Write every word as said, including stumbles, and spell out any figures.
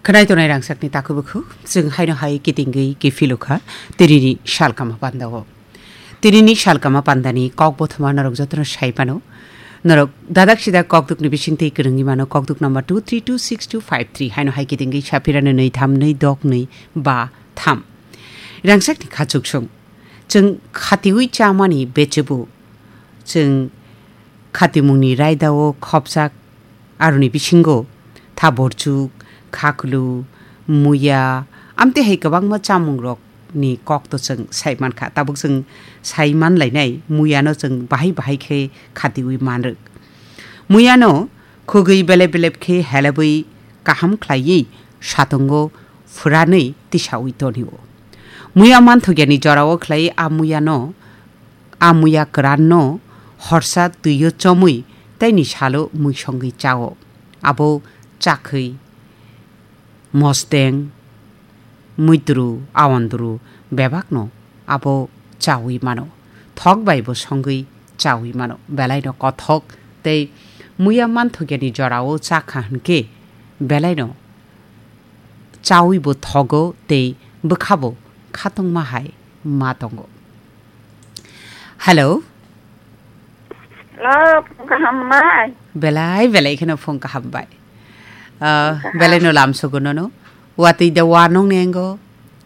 Khwnai tongnai rangchakni takhuk bukhuk, chwng haino hai kitingwi kiphilukha tinini salkama pandao. Tinini salkama pandani kok bothoma norok jotono sai mano. Norok dadak sidak kokdukni bisingtwi kwrwngwi mano, kokduk number two three two six two five three, haino hai kitingwi saphirano nwi tham nwi dok nwi ba tham. Rangchakni khachuksong. Chwng khatiwi chamani bechebu. Chwng khatimungni raidao khopjak aroni bisingo thaborchuk, khaklu, muya, amtwi hai kwbangma chamungrokni kokto chwng sai mankha. Tabuk chwng sai manlainai muyano chwng bahai bahai khe khatiwi manrwk. Muyano khugwi belep belep khe helebwi kaham khlaiwi satungo phwranwi tisawi tonio. Muya manthokya ni jorao khlai a muyano, a muya kwran no horsa twi o chomwi tei ni salo mui songwi chao. Abo chakhwi, mosteng, muitru, awandru bebak no abo chawi mano. Thok bai bo songwi chawi mano. Belai no kothok tei muya manthokya ni jorao chakha hwnkhe belai no chawi bo thogo tei bwkha bo khatungma hai ma tongo. Hello. Hello, phung kaham bai. Belai, belai kheno phung kaham bai. Ah, belai no lam sugo nono. Watwi da wa nong nengo.